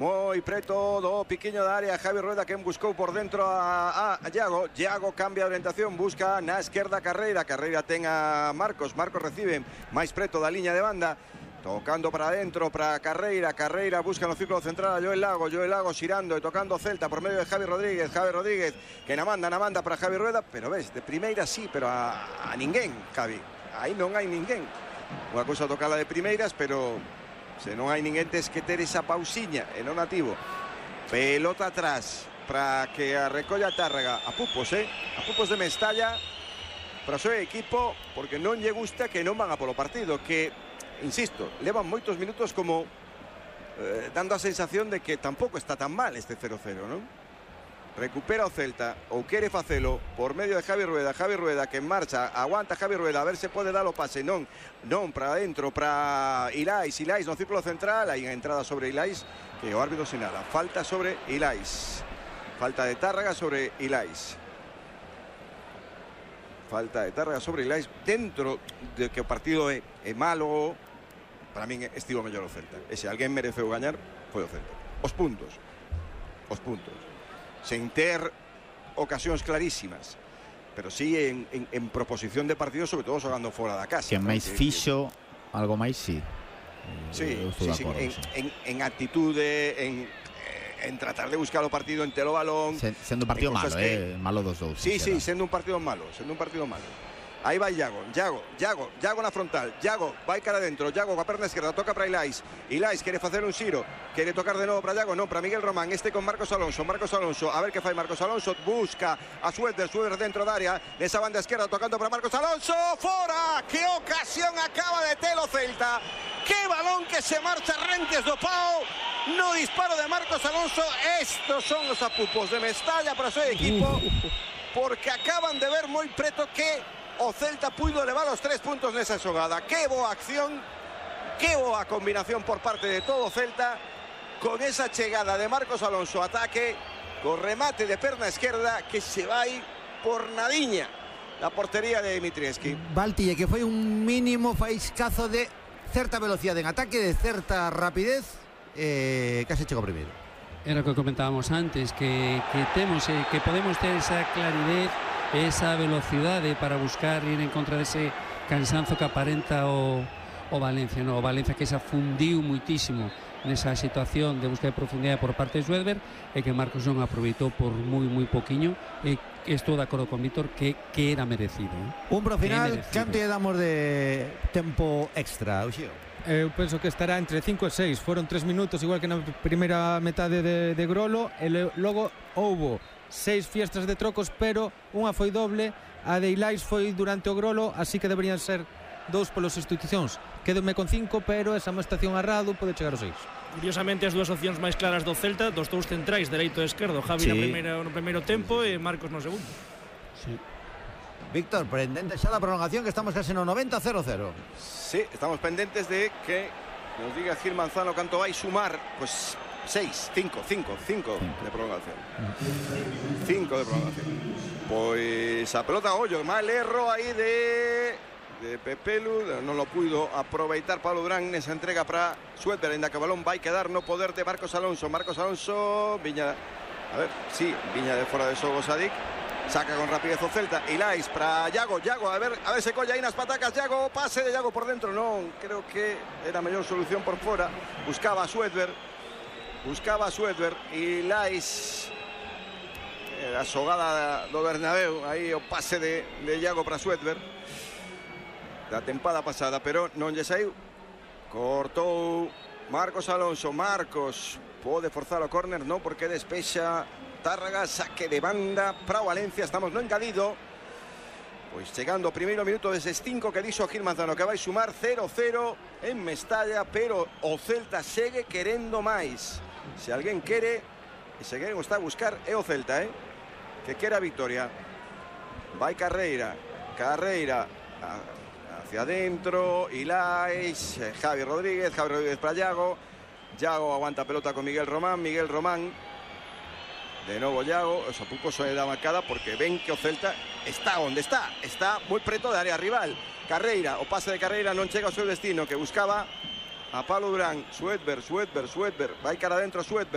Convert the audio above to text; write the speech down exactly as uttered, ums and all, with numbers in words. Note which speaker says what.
Speaker 1: Moi preto do piquiño da área Javi Rueda, que buscou por dentro a, a, a Iago. Iago cambia de orientación, busca na esquerda Carreira. Carreira ten a Marcos, Marcos recibe máis preto da liña de banda, tocando para adentro para Carreira. Carreira busca no círculo central a Joel Lago. Joel Lago xirando e tocando Celta por medio de Javi Rodríguez. Javi Rodríguez que na manda, na manda para Javi Rueda, pero ves, de primeira sí, pero a, a ninguén, Javi. Aí non hai ninguén. Unha cousa tocala de primeiras, pero se non hai ninguén tes que ter esa pausiña e non nativo. Pelota atrás para que a recolla Tárrega a Pupos, eh? A Pupos de Mestalla para o seu equipo, porque non lle gusta que non van a polo partido, que, insisto, levan moitos minutos como eh, dando a sensación de que tampouco está tan mal este cero cero, non? Recupera o Celta, ou quere facelo por medio de Javi Rueda. Javi Rueda que en marcha, aguanta Javi Rueda, a ver se pode dar o pase. Non, non, para adentro, para Ilais. Ilais no círculo central, hai unha entrada sobre Ilais que o árbitro sinala. Falta sobre Ilais. Falta de Tárrega sobre Ilais. Falta de Tárrega sobre Ilais. Dentro de que o partido é, é malo, para min estivo mellor o Celta. E se alguén mereceu gañar, foi o Celta. Os puntos. Os puntos. Sen ter ocasións clarísimas, pero sí en, en, en proposición de partido, sobre todo xogando fora da casa.
Speaker 2: Que máis
Speaker 1: ¿no?
Speaker 2: fixo, que, algo máis sí.
Speaker 1: Sí, sí, sí en, en, en actitude, en, en tratar de buscar o partido en telo balón.
Speaker 2: Sen, sendo un partido malo, que, eh, malo dos dous.
Speaker 1: Sí, sí, sendo un partido malo, sendo un partido malo. Aí vai Iago, Iago, Iago, Iago na frontal. Iago vai cara adentro, Iago coa perna esquerda, toca para Ilais. Ilais quere facer un xiro, quere tocar de novo para Iago, non, para Miguel Román, este con Marcos Alonso. Marcos Alonso, a ver que fai Marcos Alonso, busca a Suéter, Suéter dentro da área, nesa banda esquerda tocando para Marcos Alonso, fora! Que ocasión acaba de ter o Celta. Que balón que se marcha rentes do pau. No disparo de Marcos Alonso. Estos son os apupos de Mestalla para o seu equipo, porque acaban de ver moi preto que o Celta puido levar os tres puntos nesa xogada. Que boa acción, que boa combinación por parte de todo o Celta, con esa chegada de Marcos Alonso, ataque, con remate de perna esquerda que se vai por nadiña la portería de Dimitrievski.
Speaker 3: Valtille, que foi un mínimo faiscazo de certa velocidade en ataque, de certa rapidez, eh, case chegou primeiro.
Speaker 4: Era o que comentábamos antes, que, que temos, eh, que podemos ter esa claridez, esa velocidade para buscar ir en contra dese cansanzo que aparenta o, o Valencia, no? O Valencia que se afundiu muitísimo nesa situación de búsqueda de profundidade por parte de Suéter, e que Marcos non aproveitou por moi moi poquiño, e estou de acordo con Víctor que, que era merecido, eh?
Speaker 3: Un pro final, canto lle damos de tempo extra, Uxío?
Speaker 5: Eu penso que estará entre cinco e seis. Foron tres minutos, igual que na primeira metade de, de Grolo, e logo houbo seis fiestras de trocos, pero unha foi doble, a de Ilais foi durante o Grolo, así que deberían ser dous polos institucións. Quédome con cinco, pero esa amonestación a Radu pode chegar aos seis.
Speaker 6: Curiosamente, as dúas opcións máis claras do Celta, dos dous centrais, dereito e esquerdo, Javi sí. na primeira, no primeiro tempo e Marcos no segundo.
Speaker 3: Sí. Víctor, pendente xa da prolongación, que estamos case no noventa a cero cero.
Speaker 1: Sí, estamos pendentes de que nos diga Gil Manzano canto vai sumar. Pues seis, cinco, cinco, cinco de prolongación. cinco de prolongación. Pois a pelota a ollo, mal erro aí de de Pepelu, non lo puido aproveitar Pablo Durán nesa entrega para Suéter, ainda que o balón vai quedar no poder de Marcos Alonso. Marcos Alonso, Viña, a ver, sí, Viña de fora de xogo Sadik, saca con rapidez o Celta. Ilais para Iago, Iago, a ver, a ver se colla aí nas patacas, Iago, pase de Iago por dentro, non, creo que era a mellor solución por fora. Buscaba a Suéter, buscaba a Suéter, Ilais, a xogada do Bernabéu, aí o pase de, de Iago para Suéter da tempada pasada, pero non lle saiu. Cortou Marcos Alonso. Marcos pode forzar o córner, non, porque despexa Tárrega, saque de banda para o Valencia. Estamos no engadido, pois chegando o primeiro minuto deses cinco que dixo Gil Manzano, que vai sumar cero cero en Mestalla, pero o Celta segue querendo máis. Se alguén quere, e se alguén está a buscar, é o Celta, eh? Que quere a victoria. Vai Carreira, Carreira a hacia adentro, Ilais, Javi Rodríguez, Javi Rodríguez para Iago. Iago aguanta pelota con Miguel Román, Miguel Román. De novo Iago, o Sapuco se da marcada porque ven que o Celta está onde está, está moi preto de área rival. Carreira, o pase de Carreira non chega ao seu destino, que buscaba a Pablo Durán. Suéter, Suéter, Suéter, vai cara adentro Suéter.